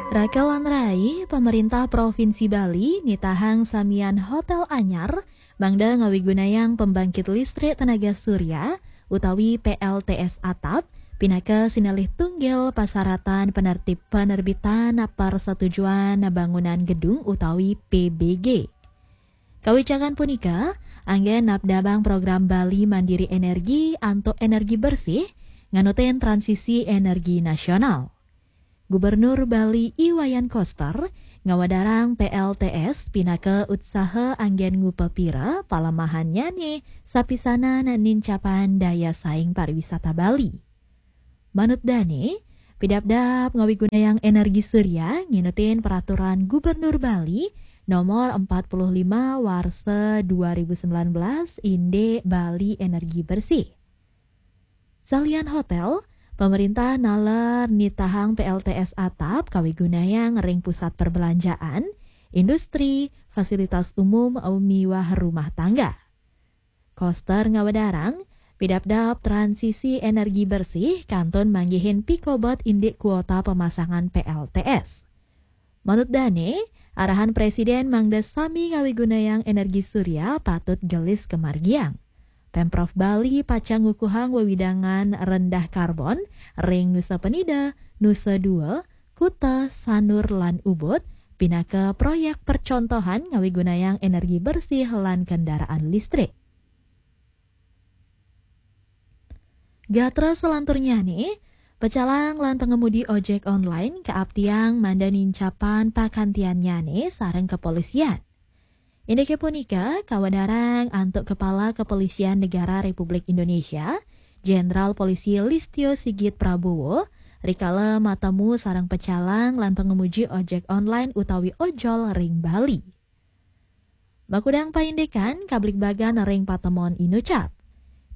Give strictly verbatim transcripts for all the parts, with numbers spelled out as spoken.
Rakelan rai, pemerintah Provinsi Bali nitahang samian hotel anyar mangda ngawigunayang pembangkit listrik tenaga surya utawi P L T S atap pinaka sinalih tunggil pasaratan penertib penerbitan persetujuan bangunan gedung utawi P B G. Kawicakan punika anggén napdabang program Bali Mandiri Energi antuk energi bersih nganutin transisi energi nasional. Gubernur Bali I Wayan Koster ngawedarang P L T S pinaka utsaha anggén ngupapira palemahannyané sapisanan nincapan daya saing pariwisata Bali. Manut dané, pidabdab ngawigunayang energi surya nginutin peraturan Gubernur Bali nomor empat puluh lima warsa dua ribu sembilan belas indik Bali Energi Bersih. Salian hotel, pemerintah naler nitahang P L T S atap kawigunayang ring pusat perbelanjaan, industri, fasilitas umum, miwah rumah tangga. Koster ngawedarang, pidabdab transisi energi bersih kantun manggihin pikobet indik kuota pemasangan P L T S. Manut dané, arahan Presiden mangda sami ngawigunayang energi surya patut gelis kamargiang. Pemprov Bali pacang ngukuhang wewidangan rendah karbon ring Nusa Penida, Nusa Dua, Kuta, Sanur, lan Ubud pinaka proyek percontohan ngawigunayang energi bersih lan kendaraan listrik. Gatra selanturnyané, pecalang lan pengemudi ojek online kaaptiang mangda nincapan pakantiannyané sareng kepolisian. Indiké punika kawedarang antuk Kepala Kepolisian Negara Republik Indonesia, Jenderal Polisi Listio Sigit Prabowo, rikala matemu sareng pecalang lan pengemudi ojek online utawi ojol ring Bali. Makudang paindikan kabligbagan ring patemon inucap.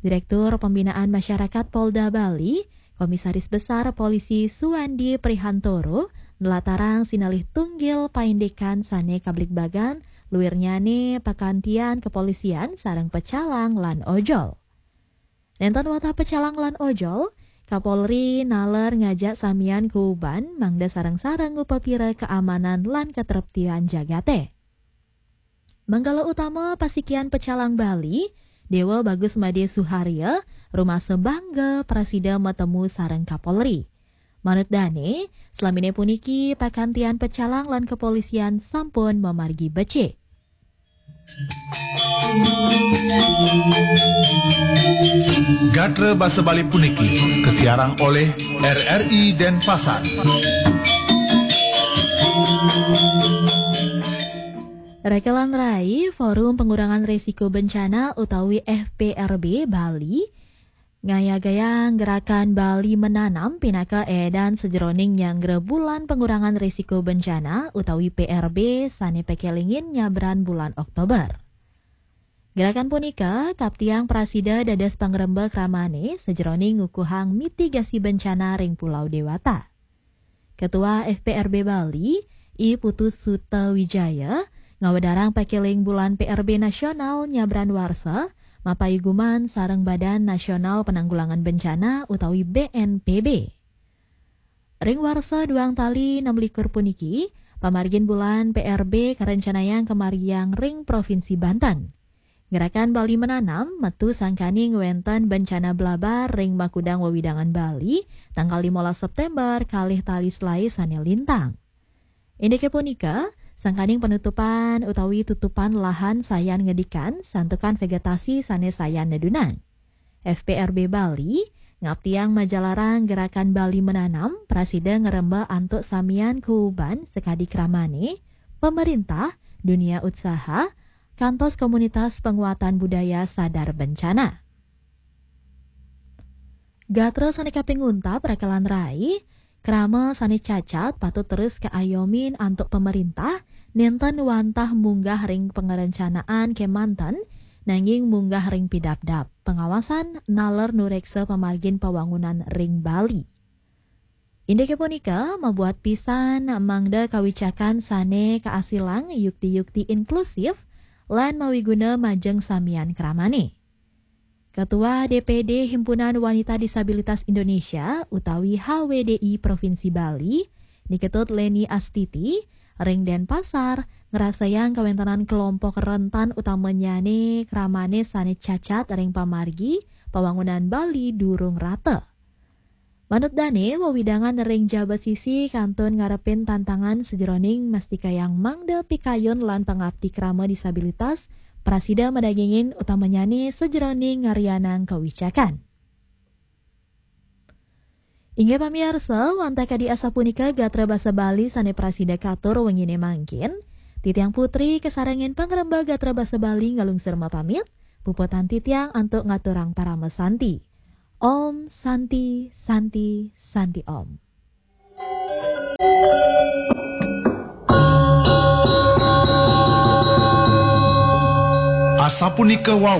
Direktur Pembinaan Masyarakat Polda Bali, Komisaris Besar Polisi Suwandi Prihantoro, nlatarang sinalih tunggil paindikan sané kabligbagan, luirnyané pakantian kepolisian sareng pecalang lan ojol. Nénten wantah pecalang lan ojol, Kapolri naler ngajak samian kuuban mangda sareng-sareng ngupapira keamanan lan ketreptian jagaté. Manggala utama pasikian pecalang Bali, Déwa Bagus Madé Suharya, rumasa bangga prasida matemu sareng Kapolri. Manut dané, selaminé puniki pakantian pecalang lan kepolisian sampun mamargi becik. Gatra basa Bali puniki kasiarang olih R R I Denpasar. Rakelan rai, Forum Pengurangan Risiko Bencana utawi F P R B Bali ngayagayang gerakan Bali Menanam pinaka édan sajeroning nyanggra Bulan Pengurangan Risiko Bencana utawi P R B sané pakelingin nyabran bulan Oktober. Gerakan punika kaptiang prasida dados pangremba kramané sajeroning ngukuhang mitigasi bencana ring Pulau Dewata. Ketua F P R B Bali, I Putu Suta Wijaya, ngawedarang pakeling bulan P R B nasional nyabran warsa, mapaiguman sareng Badan Nasional Penanggulangan Bencana utawi B N P B. Ring warsa duang tali enam likur puniki, pamargin bulan P R B karencanayang kamargiang ring Provinsi Banten. Gerakan Bali Menanam metu sangkaning wénten bencana blabar ring makudang wewidangan Bali, tanggal limolas September, kalih tali selai sané lintang. Indiké punika, sangkaning penutupan utawi tutupan lahan sayan ngedikan santukan vegetasi sané sayan nedunang. F P R B Bali ngaptiang majalarang gerakan Bali Menanam prasida ngremba antuk samian kuuban sakadi kramané, pemerintah, dunia utsaha, kantos komunitas penguatan budaya sadar bencana. Gatra sané kaping untat rakelan rai, krama sané cacat patut terus kaayomin antuk pemerintah, nénten wantah munggah ring pangarencanaan kémanten, nanging munggah ring pidabdab, pengawasan naler nureksa pamargin pawangunan ring Bali. Indiké punika mabuat pisan mangda kawicakan sané kaasilang yukti-yukti inklusif lan mawiguna majeng samian kramané. Ketua D P D Himpunan Wanita Disabilitas Indonesia utawi H W D I Provinsi Bali, Niketut Leni Astiti, ring Denpasar, ngrasayang kawéntenan kelompok rentan utamanyane kramane sane cacat ring pamargi pawangunan Bali durung rata. Manut dane, wewidangan ring jabat sisi kantun ngarepin tantangan sajeroning mastikayang mangda pikayun lan pangapti krama disabilitas prasida madagingin utamanyane sajeroning ngaryanang kawicakan. Inggih pamiarsa, wantah kadi asapunika gatra basa Bali sane prasida katur wengine mangkin. Titiang Putri kasarengin pangrembag gatra basa Bali ngalungsur mapamit. Puputang titiang antuk ngaturang parama santi. Om Santi, Santi, Santi Om. Asapunika wau